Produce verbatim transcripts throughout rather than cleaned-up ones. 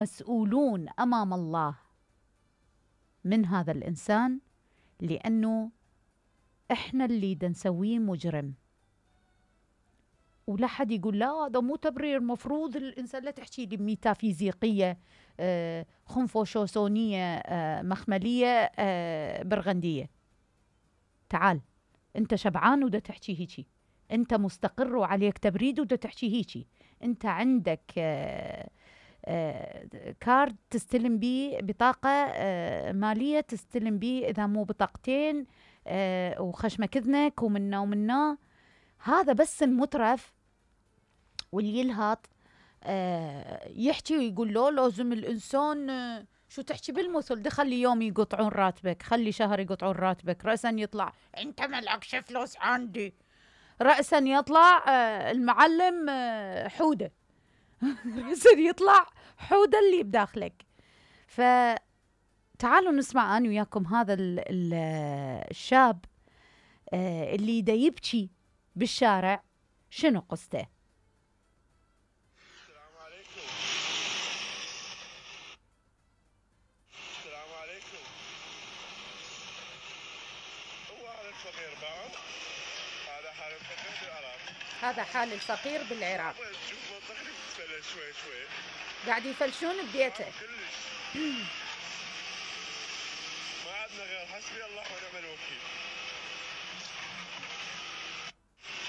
مسؤولون أمام الله من هذا الإنسان، لأنه إحنا اللي دا نسويه مجرم. ولا حد يقول لا هذا مو تبرير، مفروض الإنسان لا تحكي لي ميتافيزيقية آه خنفوشوسونية آه مخملية آه برغندية. تعال أنت شبعان ودا تحكي هيجي، أنت مستقر وعليك تبريد ودا تحكي هيجي، أنت عندك آه آه كارد تستلم بيه، بطاقة آه مالية تستلم بيه، إذا مو بطاقتين آه وخشمك إذنك ومنا ومنا. هذا بس المترف واللي يلهط آه يحكي ويقول له لازم الإنسان آه شو تحكي بالمثل ده، خلي يوم يقطعون راتبك، خلي شهر يقطعون راتبك، رأسا يطلع انت ملعكش فلوس عندي، رأسا يطلع آه المعلم آه حودة رأسا يطلع حودة اللي بداخلك. فتعالوا نسمع أنا وياكم هذا ال ال الشاب آه اللي دا يبكي بالشارع، شنو قصته؟ السلام عليكم. السلام عليكم. هو هذا الفقير بعض، هذا حال الفقير بالعراق. هذا حال الفقير بالعراق. شوف منطقة تتفلل شوي شوي. قاعد يفلشون ببيته. ما عندنا غير حسبي الله ونعم الوكيل.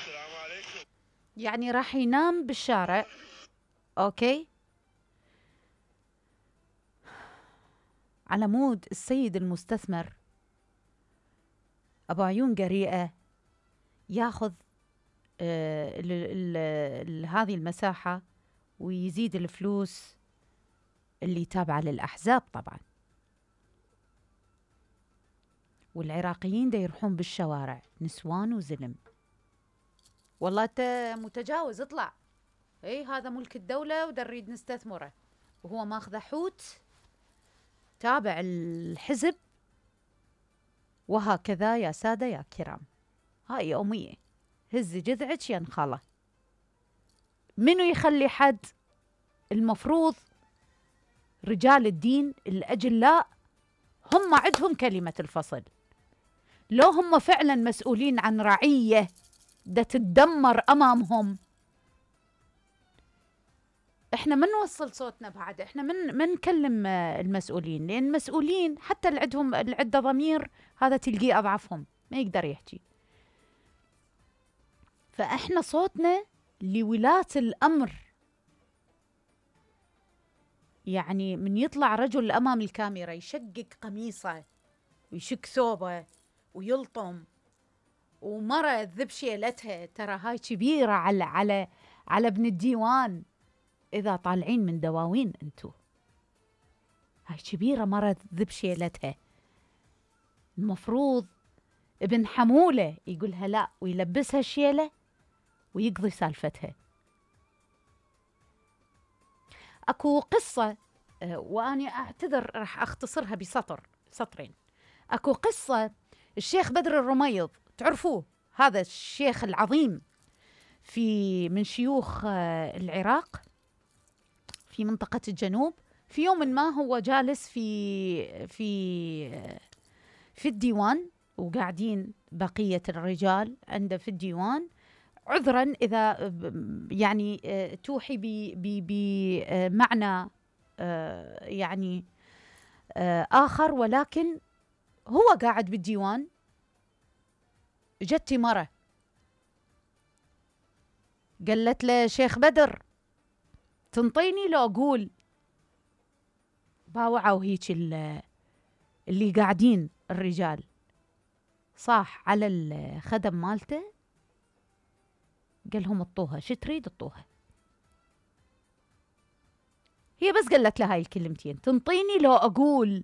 السلام عليكم. يعني راح ينام بالشارع، اوكي، على مود السيد المستثمر ابو عيون قريئة ياخذ آه ال ال ال هذه المساحة ويزيد الفلوس اللي تابعة للأحزاب طبعا. والعراقيين دا يروحون بالشوارع نسوان وزلم. والله انت متجاوز، اطلع، اي هذا ملك الدولة ودا نريد نستثمره، وهو ماخذ حوت تابع الحزب. وهكذا يا سادة يا كرام، هاي يومية، هزي جذعك يا نخالة. منو يخلي حد؟ المفروض رجال الدين الأجلاء هم عندهم كلمة الفصل. لو هم فعلا مسؤولين عن رعية دا تتدمر أمامهم، احنا ما نوصل صوتنا بعد، احنا من من نكلم المسؤولين، لأن المسؤولين حتى اللي عندهم اللي عنده ضمير هذا تلقيه أضعفهم ما يقدر يحكي. فاحنا صوتنا لولاة الأمر. يعني من يطلع رجل أمام الكاميرا يشقق قميصه ويشك ثوبه ويلطم، ومرة تذب شيلتها، ترى هاي كبيرة على على على ابن الديوان. إذا طالعين من دواوين أنتو، هاي كبيرة مرة تذب شيلتها. المفروض ابن حمولة يقولها لا ويلبسها الشيلة ويقضي سالفتها. أكو قصة وأنا أعتذر راح أختصرها بسطر سطرين. أكو قصة الشيخ بدر الرميض، تعرفوه هذا الشيخ العظيم في من شيوخ العراق في منطقة الجنوب. في يوم ما هو جالس في في في الديوان وقاعدين بقية الرجال عنده في الديوان، عذرا إذا يعني توحي بمعنى يعني آخر، ولكن هو قاعد بالديوان. جت مرة قالت له شيخ بدر تنطيني لو أقول؟ باوعوا هيك اللي قاعدين الرجال، صاح على الخدم مالته قال لهم اطوها، شو تريد اطوها. هي بس قالت له هاي الكلمتين، تنطيني لو أقول.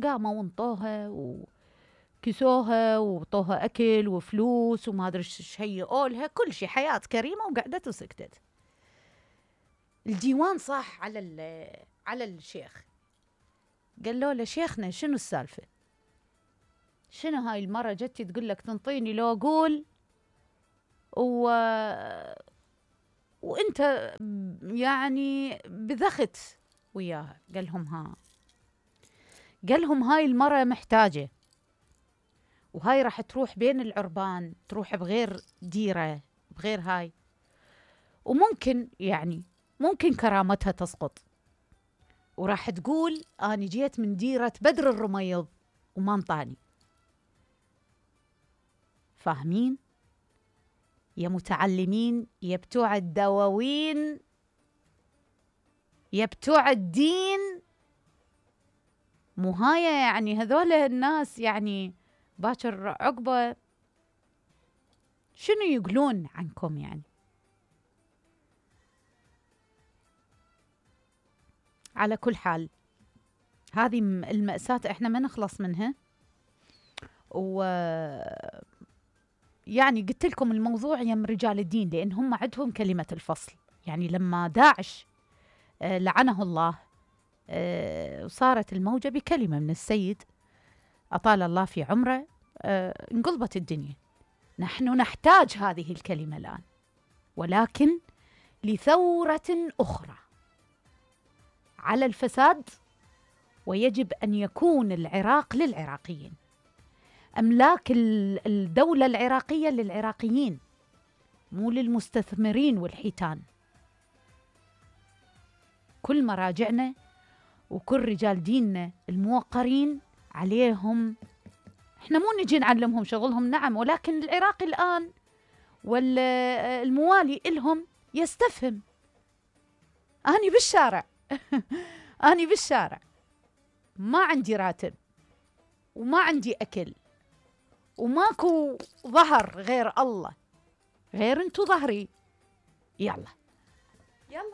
قاموا وانطوها وكسوها وطوها أكل وفلوس وما أدري ايش هيئوا لها، كل شيء، حياة كريمة، وقعدت وسكتت. الديوان صاح على على الشيخ، قال له شيخنا شنو السالفة؟ شنو هاي المرة جتي تقول لك تنطيني لو أقول و وانت يعني بذخت وياها. قال لهم ها قال لهم هاي المرأة محتاجة، وهاي راح تروح بين العربان، تروح بغير ديرة بغير هاي، وممكن يعني ممكن كرامتها تسقط، وراح تقول أنا جيت من ديرة بدر الرميض وما انطاني. فاهمين يا متعلمين، يا بتوع الدواوين، يا بتوع الدين؟ مو هاي يعني هذول الناس يعني باكر عقبة شنو يقولون عنكم يعني؟ على كل حال هذه المأساة احنا ما نخلص منها. و يعني قلت لكم الموضوع يم رجال الدين، لأن هم عندهم كلمة الفصل. يعني لما داعش آه لعنه الله آه وصارت الموجة بكلمة من السيد أطال الله في عمره، آه انقلبت الدنيا. نحن نحتاج هذه الكلمة الآن، ولكن لثورة أخرى على الفساد. ويجب أن يكون العراق للعراقيين، أملاك الدولة العراقية للعراقيين، مو للمستثمرين والحيتان. كل مراجعنا وكل رجال ديننا الموقرين عليهم، احنا مو نجي نعلمهم شغلهم نعم، ولكن العراق الآن والموالي إلهم يستفهم. أنا بالشارع أنا بالشارع ما عندي راتب وما عندي أكل وماكو ظهر غير الله، غير انتو ظهري. يلا يلا